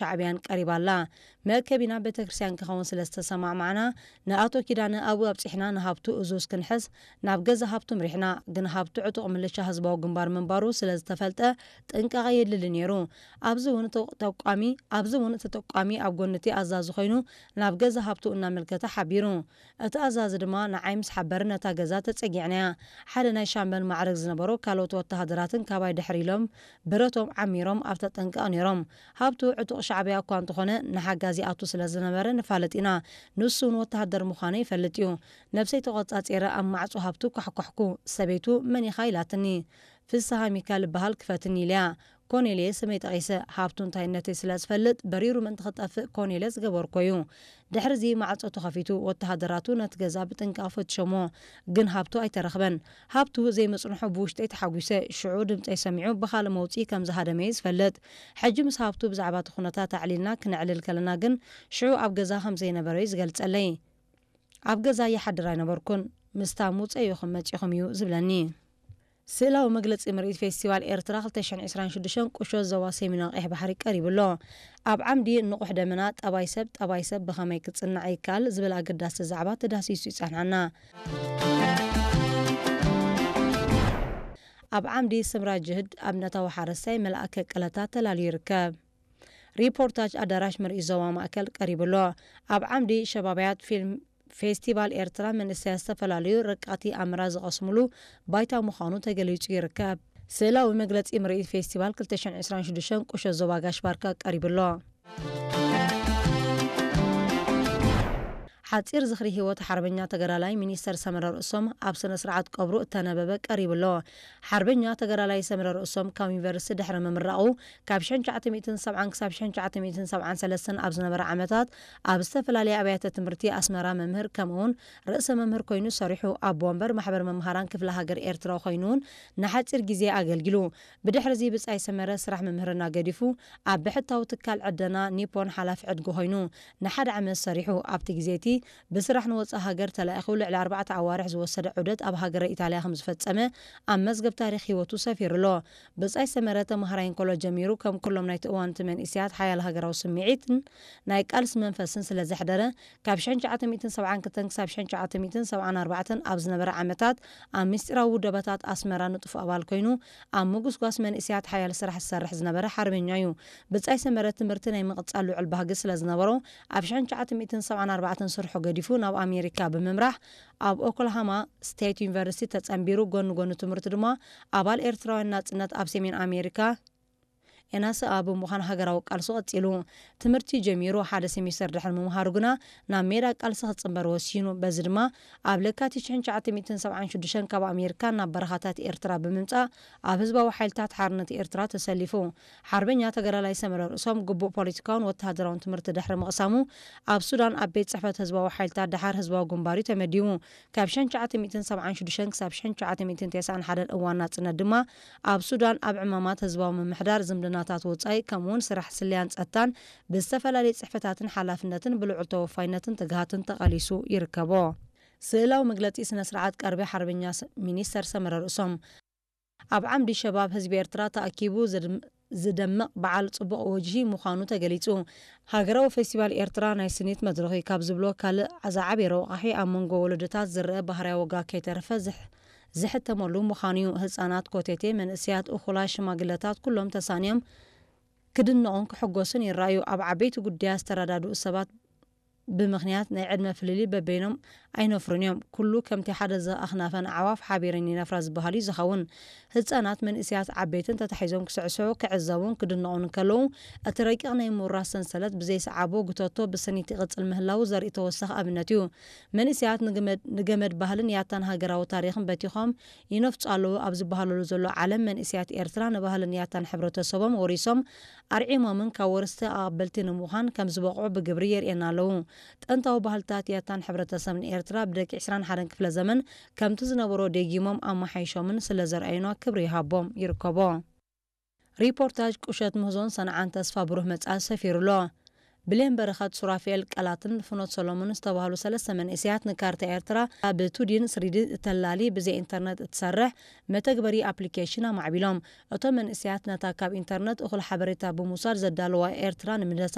ሻዕብያን ቀሪባ ኣላ። መእከቢና ቤተክርስትያን ክኸውን ስለ ዝተሰማማዕና፣ ንኣቶ ኪዳነ ኣብኡ ኣብጺሕና ንሃብቱ እዙዝ ክንሕዝ ናብ ገዛ ሃብቱ ምሪሕና። ግን ሃብቱ ዕጡቕ ምልሻ ህዝባዊ ግንባር ምንባሩ ስለ ዝተፈልጠ ጥንቃቐ የድሊ ነይሩ። ኣብዚ እውን ተቋሚ፣ ኣብዚ እውን ተጠቋሚ ኣብ ጎኒ እቲ ኣዛዚ ኮይኑ ናብ ገዛ ሃብቱ እናመልከተ ሓቢሩ። እቲ ኣዛዚ ድማ ንዓይ ምስ ሓበረ ነታ ገዛ ተጸጊዕናያ። ሓደ ናይ ሻምበል ማዕረግ ዝነበሮ ካልኦት ወተሃደራትን ካባይ ድሕር ኢሎም ብረቶም ዓሚሮም ኣብ ተጠንቀቕ ነይሮም። ሃብቱ ዕጡቕ ሻዕብያ እኳ እንተኾነ ንሓጋዚ ኣቱ ስለ ዝነበረ ንፋለጥ ኢና። ንሱ እውን ወተሃደር ምዃነ ይፈልጥ እዩ። ነብሰይ ተቖጻጺረ ኣብ ማዕጾ ሃብቱ ኳሕኳሕኩ። ሰበይቱ መን ኢኻ ኢላትኒ። ፍስሃ ሚካል እበሃል ክፈትኒ ኢለያ። ኮኔልየ ስመይ ጠቒሰ ሃብቱ እንታይነተይ ስለ ዝፈልጥ በሪሩ ምእንቲ ክጠፍእ ኮኔልየ ዝገበርኮ እዩ። ድሕርዚ ማዕጾ ተኸፊቱ ወተሃደራቱ ነቲ ገዛ ብጥንቃቕ ፈትሾሞ ግን ሃብቱ ኣይተረኽበን። ሃብቱ ዘይምጽንሑ ብውሽጠይ ተሓጒሰ። ሽዑ ድምጸይ ሰሚዑ ብኻልእ መውጽኢ ከም ዝሃደመ እዩ ዝፈልጥ። ሕጂ ምስ ሃብቱ ብዛዕባ እቲ ኩነታት ኣዕሊልና ክነዕልል ከለና ግን ሽዑ ኣብ ገዛ ከም ዘይነበረ እዩ ዝገልጸለይ። ኣብ ገዛ ይሓድር ኣይነበርኩን። ምስታ ምውጸ ኢኹም መጺኹም እዩ ዝብለኒ። ስእላዊ መግለጺ ምርኢት ፌስቲቫል ኤርትራ ክልተ ሽሕን ዕስራን ሽዱሽተን ቁሸት ዞባ ሰሜናዊ ቀይሕ ባሕሪ ቀሪቡ ኣሎ። ኣብ ዓምዲ ንቑሕ ደመና ጠባይ ሰብ፣ ጠባይ ሰብ ብኸመይ ክጽናዕ ይከኣል ዝብል ኣገዳሲ ዛዕባ ተዳህሲሱ ይጸንሓና። ኣብ ዓምዲ ስምራ ጅህድ ኣብነታዊ ሓረስታይ መልኣከ ቀለታ ተላልዩ ይርከብ። ሪፖርታጅ ኣዳራሽ ምርኢት ዞባ ማእከል ቀሪቡ ኣሎ። ኣብ ዓምዲ ሸባብያት ፊልም ፌስቲቫል ኤርትራ መንእሰያት ዝተፈላለዩ ረቃቲ ኣምራ ዝቐስሙሉ ባይታ ምዃኑ ተገሊጹ ይርከብ። ስእላዊ መግለጺ ምርኢት ፌስቲቫል ክልተ ሽሕን ዕስራን ሽዱሽተን ቁሸት ዞባ ጋሽ ባርካ ቀሪቡ ኣሎ። ሓጺር ዝኽሪ ህይወት ሓርበኛ ተጋዳላይ ሚኒስተር ሰመረ ርእሶም ኣብ ስነ ስርዓት ቀብሩ እተነበበ ቀሪቡ ኣሎ። ሓርበኛ ተጋዳላይ ሰመረ ርእሶም ካብ ዩኒቨርሲቲ ድሕሪ ምምራቑ ካብ ሽሕን ትሽዓተ ሚእትን ሰብዓን ክሳብ ሽሕን ትሽዓተ ሚእትን ሰብዓን ሰለስተን ኣብ ዝነበረ ዓመታት ኣብ ዝተፈላለያ ኣብያተ ትምህርቲ ኣስመራ መምህር ከምኡውን ርእሰ መምህር ኮይኑ ሰሪሑ። ኣቦ ወንበር ማሕበር መምሃራን ክፍለ ሃገር ኤርትራ ኮይኑ እውን ንሓጺር ግዜ ኣገልጊሉ። ብድሕርዚ ብጻይ ሰመረ ስራሕ ምምህርና ገዲፉ ኣብ ብሕታዊ ትካል ዕደና ኒፖን ሓላፊ ዕድጊ ኮይኑ ንሓደ ዓመት ሰሪሑ። ኣብቲ ግዜ እቲ ብስራሕ ንወጻኢ ሃገር ተላኢኹ ልዕሊ ኣርባዕተ ኣዋርሕ ዝወሰደ ዑደት ኣብ ሃገረ ኢጣልያ ከም ዝፈጸመ ኣብ መዝገብ ታሪኽ ህይወቱ ሰፊሩ ኣሎ። ብጻይ ሰመረ ተምሃራይ እንከሎ ጀሚሩ ከም ኩሎም ናይቲ እዋን እቲ መንእሰያት ሓያል ሃገራዊ ስምዒትን ናይ ቃልሲ መንፈስን ስለ ዘሕደረ ካብ ሽሕን ትሽዓተ ሚእትን ሰብዓን ክልተን ክሳብ ሽሕን ትሽዓተ ሚእትን ሰብዓን ኣርባዕተን ኣብ ዝነበረ ዓመታት ኣብ ምስጢራዊ ውደባታት ኣስመራ ንጡፍ ኣባል ኮይኑ ኣብ ምጉስጓስ መንእሰያት ሓያል ስራሕ ዝሰርሕ ዝነበረ ሓርበኛ እዩ። ብጻይ ሰመረ ትምህርቲ ናይ ምቕጻል ልዑል ባህጊ ስለ ዝነበሮ ኣብ ሽሕን ትሽዓተ ሚእትን ሰብዓን ኣርባዕተን ስርሑ ገዲፉ ናብ ኣሜሪካ ብምምራሕ ኣብ ኦክላሃማ ስቴት ዩኒቨርሲቲ ተጸንቢሩ። ጎኒ ጎኒ ትምህርቱ ድማ ኣባል ኤርትራውያን ናጽነት ኣብ ሰሜን ኣሜሪካ ኤናስኣ ብምዃን ሃገራዊ ቃልሱ ቀጺሉ። ትምህርቲ ጀሚሩ ሓደ ሴሚስተር ድሕሪ ምምሃሩ ግና ናብ ሜዳ ቃልሲ ክጽንበር ወሲኑ። በዚ ድማ ኣብ ለካቲት ሽሕን ትሽዓተ ሚእትን ሰብዓን ሽዱሽተን ካብ ኣሜሪካ ናብ በረኻታት ኤርትራ ብምምጻእ ኣብ ህዝባዊ ሓይልታት ሓርነት ኤርትራ ተሰሊፉ። ሓርበኛ ተጋዳላይ ሰመረ ርእሶም ግቡእ ፖለቲካውን ወተሃደራውን ትምህርቲ ድሕሪ ምቕሳሙ ኣብ ሱዳን ኣብ ቤት ጽሕፈት ህዝባዊ ሓይልታት ደሓር ህዝባዊ ግንባር እዩ ተመዲቡ። ካብ ሽሕን ትሽዓተ ሚእትን ሰብዓን ሽዱሽተን ክሳብ ሽሕን ትሽዓተ ሚእትን ተስዓን ሓደን እዋን ናጽነት ድማ ኣብ ሱዳን ኣብ ዕማማት ህዝባዊ ምምሕዳር፣ ዝምድናታት ወጻኢ፣ ከምኡውን ስራሕ ስለያን ጸጥታን ብዝተፈላለየ ጽሕፈታትን ሓላፍነትን ብልዑል ተወፋይነትን ትግሃትን ተቓሊሱ ይርከቦ። ስእላዊ መግለጺ ስነ ስርዓት ቀርቢ ሓርበኛ ስ-፣ ሚኒስተር ሰመረ ርእሶም። ኣብ ዓምዲ ሸባብ ህዝቢ ኤርትራ ተኣኪቡ ዝድም-፣ ዝደምቕ በዓል ጽቡቕ ወጅሂ ምዃኑ ተገሊጹ። ሃገራዊ ፌስቲቫል ኤርትራ ናይ ስኒት መድረኽ እዩ ካብ ዝብሎ ካልእ ዝዓበየ ረቋሒ ኣብ መንጎ ወለዶታት ዝረአ ባህርያዊ ዋጋ ከይተረፈ ዝሕ-፣ ዝሕተመሉ ምዃኑ እዩ። ህጻናት፣ ኮቴቴ፣ መንእሰያት፣ እኹላት፣ ሽማግለታት ኩሎም ተሳንዮም ክድነቑን ክሕጎሱን ይረኣዩ። ኣብ ዓበይቲ ጉዳያት ዝተረዳድኡ ሰባት ብምኽንያት ናይ ዕድመ ፍልልይ በበይኖም ኣይነፍሩን እዮም። ኩሉ ከምቲ ሓደ ዘኽናፈን ኣዕዋፍ ሓቢረን ይነፍራ ዝበሃል እዩ ዝኸውን። ህጻናት፣ መንእሰያት፣ ዓበይትን ተታሒዞም ክስዕስዑ፣ ክዕዘቡን ክድነቑን እንከለዉ፣ እቲ ረቂቕ ናይ ምውራስ ሰንሰለት ብዘይሰዓቦ ጉተቶ ብስኒት ይቕጽል ምህላዉ ዘርኢ ተወሳኺ ኣብነት እዩ። መንእሰያት ንግመድ-፣ ንገመድ ባህልን ያታን ሃገራዊ ታሪኽን በቲኾም ይነፍጹ ኣለዉ ኣብ ዝበሃለሉ ዘሎ ዓለም፣ መንእሰያት ኤርትራ ንባህልን ያታን ሕብረተሰቦም ወሪሶም ኣርዒሞምን ካብ ወረስቲ ኣቐበልቲ ንምዃን ከም ዝበቕዑ ብግብሪ የርእየና ኣለዉ። ጥንታዊ ባህልታት ያታን ሕብረተሰብን ኤርትራ ብደቂ ዕስራን ሓደን ክፍለ ዘመን ከምቲ ዝነበሮ ደጊሞም ኣመሓይሾምን ስለ ዘርኣዩና ክብሪ ይሃቦም ይርከቦ። ሪፖርታጅ ቁሸት ምህዞን ሰንዓን ተስፋ ብሩህ መጻኢ ሰፊሩ ኣሎ። ብሌን በረኸት፣ ሱራፌል ቀላትን ፍኖት ሰሎሞን ዝተባህሉ ሰለስተ መንእሰያት ንካርታ ኤርትራ ብቱዲን ስሪዲ እተላሊ ብዘይ ኢንተርነት እትሰርሕ መተግበሪ ኣፕሊኬሽን ኣማዕቢሎም። እቶም መንእሰያት ነታ ካብ ኢንተርነት እኹል ሓበሬታ ብምውሳድ ዘዳለዋ ኤርትራ ንምድህሳስ